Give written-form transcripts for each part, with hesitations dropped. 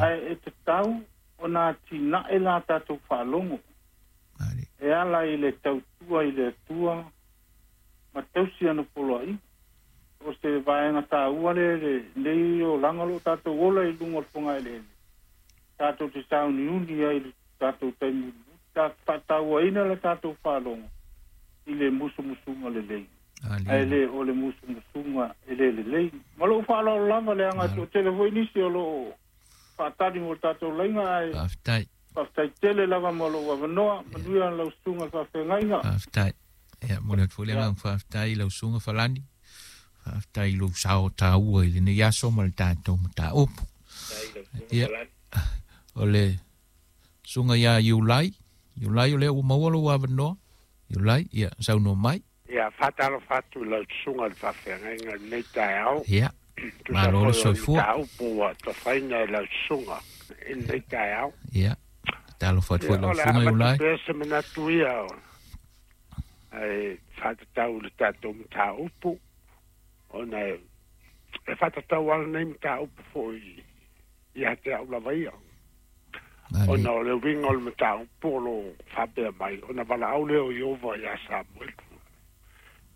Ae e tatau ona atinae la tatou faalogo e ala i le tautua i le Atua ma tausi ana poloaiga. O se vaega taua lea lenei olaga o lo o tatou ola i luga o le fogaeleele, tatou te sauniuni ai i le tatou taimi mulimuli, faatauaina le tatou faalogo i le musumusuga lelei, ae le o le musumusuga e le lelei. Ma lou faaaloalo lava, leaga e toatele foi nisi o lo o faatali mo le tatou laiga, ae Faafetai. Faafetai tele lava mo lou avanoa. Manuia lau susuga i le faafeagaiga. Faafetai. Ia, momoli atu foi le agaga faafetai i lau susuga Falani. Faafetai i lou sao taua i lenei aso ma le tatou mataupu. Ia, o le susuga ia Iulai. Iulai, o lea ua maua lou avanoa. Iulai, ia, saunoa mai. Ia, faatalofa atu i lau susuga i le faafeagaiga i lenei taeao. Ia, Tusa malo le foi o le soifua. mataupu ua tofaina e lau susuga i lenei taeao. Ia, talofa atu foi Ia, lau o le a susuga avatu Iulai. pea se manatu ia e faatatau i le tatou mataupu, ona e faatatau lava lenei mataupu foi ia te au lava ia. Ona o le uiga o le mataupu o lo o faapea mai, ona valaau lea o Ieova ia Samuelu,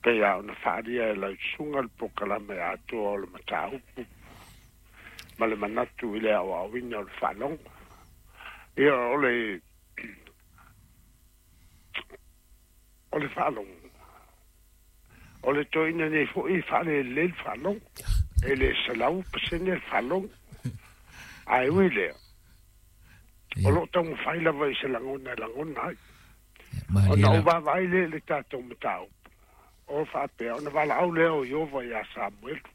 pei lava ona faaalia e lau susuga le polokalame atoa o le mataupu ma le manatu i le aoaoina o le faalogo. Ia, o le faalogo, o le toeaina nei foi e faalelelei le faalogo, e le 100% le faalogo. Ae ui lea, o lo o taumafai lava i se lagona e lagona ai. Ona ou vaavaai lea i le tatou mataupu, o faapea, ona valaau lea o Ieova ia Samuelu.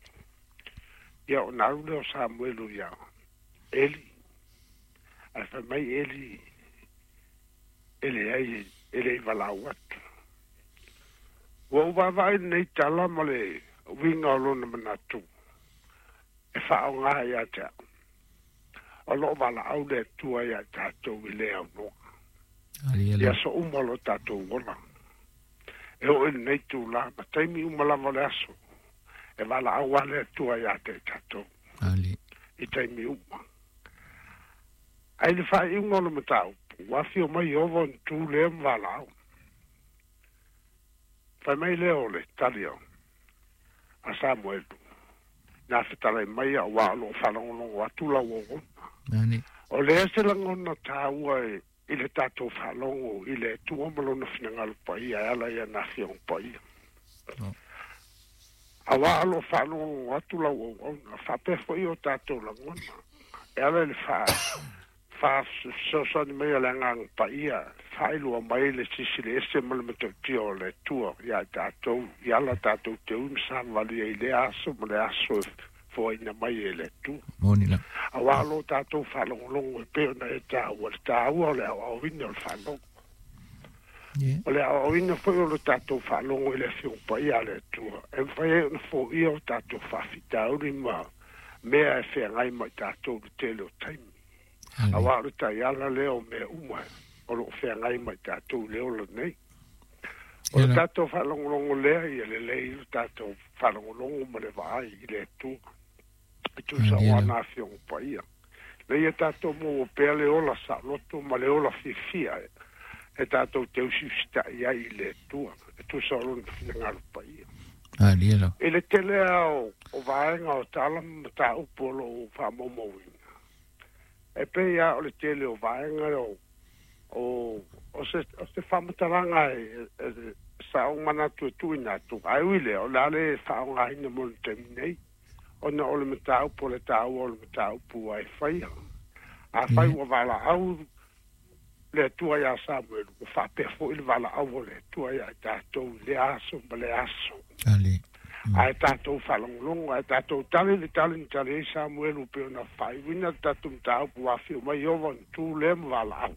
Ia, ona alu lea o Samuelu ia Eli. Ae fai mai Eli, e leai, e le i valaau atu. Ua ou vaavaai lenei tala ma le uiga o lona manatu e faaaoga ia te au. O lo o valaau le Atua ia tatou i le aunoa. I aso uma o lo tatou ola. E oo i lenei tula, ma taimi uma lava o le aso, e valaau lava le Atua ia te tatou. I taimi uma. Ae i le faaiuga o le mataupu, ua afio mai Ieova ona tu lea ma valaau. Fai mai lea o le tali a Samuelu, na fetalai mai auā o lo o faalogologo atu lau auauna. O lea se lagona taua i le tatou faalogo i le Atua ma lona finagalo paia e ala i ana afioga paia. Auā o lo o faalogologo atu lau auauna, faapea foi o tatou lagona e ala i le faafesoasoani mai o le agaga paia, faailoa mai le silisili ese ma le matautia o le Atua ia tatou, i ala tatou te ui ma savavali ai i lea aso ma le aso e foaina mai e le Atua. Auā o lo o tatou faalogologo e pei ona e taua le taua o le aoaoina o le faalogo. O le aoaoina foi o le tatou faalogo i le afioga paia a le Atua, e mafai ai ona foia o tatou faafitauli ma mea e feagai ma i tatou i le tele o taimi. Auā o le taiala lea o mea uma o lo o feagai ma i tatou i le ola nei. O le tatou faalogologo lea ia lelei le tatou faalogologo ma le vaai i le Atua. E tusa o ana afioga paia. Na ia tatou maua pea le ola saoloto ma le ola fiafia e tatou te usiusitai ai i le Atua. E tusa o lona finagalo paia. I le tele o vaega o tala ma mataupu o lo o faamaumauina, e pei lava o le tele o vaega o se faamatalaga e sa ou manatu e tuuina atu. Ae ui lea, o le a le faaaogaina mo le taimi nei, ona o le mataupu o le taua o le mataupu ua e faia. Afai ua valaau le Atua ia Samuelu, ua faapea foi le valaau o le Atua ia tatou i le aso ma le aso. Ae tatou faalogologo, ae tatou tali le tali na tali ai Samuelu pei ona faaiuina le tatou mataupu, ua afio mai Ieova ona tu lea ma valaau.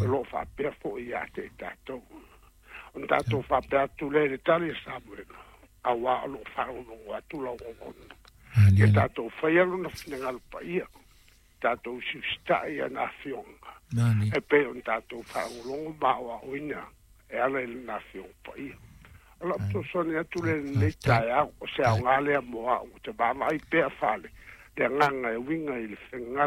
O lo o faapea foi ia te i tatou. Ona tatou faapea atu lea i le tali a Samuelu, auā o lo o faalogologo atu lau auauna. Ia tatou faia lona finagalo paia, tatou usiusitai ana afioga, e pei ona tatou faalogologo ma aoaoina e ala i lona afioga paia. O lau fesoasoani atu lea i lenei taeao, o se aoga lea mo au, te vaavaai pea fale, le agaga e uiga i le finagalo